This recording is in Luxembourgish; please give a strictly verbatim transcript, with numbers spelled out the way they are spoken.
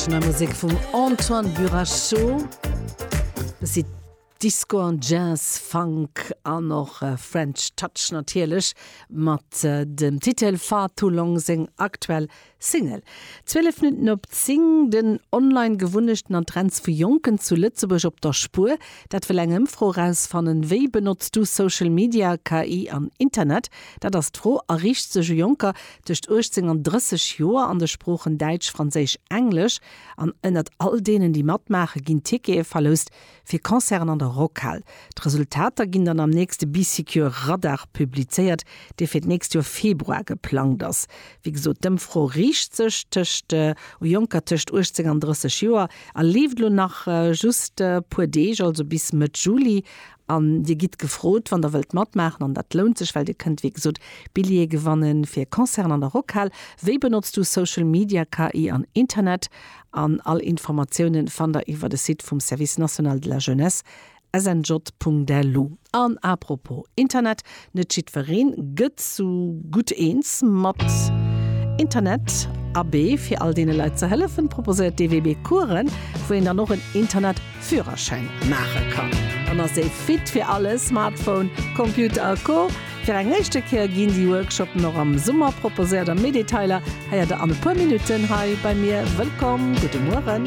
Nei Musek vum Antoine Burachot. Bëssi Disco an Jazz, Funk an och French Touch natierlech mat dem Titel Far Too Long, seng aktuell Single. Zwielef Minutten op zéng. Den Online-Gewunnechten an Trends vu Jonken zu Lëtzebuerg op der Spuer, dat wëll eng Ëmfro erausfannen. Wéi benotz du Social Media, K I an Internet? Dat ass d'Fro a riicht sech u Jonker tëscht uechtzéng an drësseg Joer an de Sproochen Däitsch, Franséisch, Englesch. An ënnert all deenen, déi matmaachen, ginn Tickete verloust fir Concerten an der Rockhal. D'Resultater ginn dann am nächste Bee Secure Radar publizéiert, dee fir d'nächst Joer Februar geplangt ass. Wéi gesot, d'Ëmfro riicht sech tëscht u Jonker tëscht uechtzéng an drësseg Joer a leeft elo nach just e puer Deeg, also bis Mëtt Juli. An Dir gitt gefrot, wann Der wëllt matmaachen, an dat lount sech, well Dir kënnt, wéi gesot, Billjeeë gewanne fir Concerten an der Rockhal. Wéi benotz du Social Media, K I an Internet? An all Informatioune fannt Der iwwer de Site vum Service national de la jeunesse, S N J Punkt L U. An apropos Internet, net jiddweree gëtt sou gutt eens mat Internet. Abee, fir all deene Leit ze hëllefen, proposéiert d'E W B Coursen, wou een dann och en Internetführerschäin maache kann. Dann ass ee fit fir alles, Smartphone, Computer a Co. Fir eng éischte Kéier ginn déi Workshoppen och am Summer proposéiert a méi Detailer héiert der an e puer Minutten hei bei mir. Wëllkomm, gudde Mueren.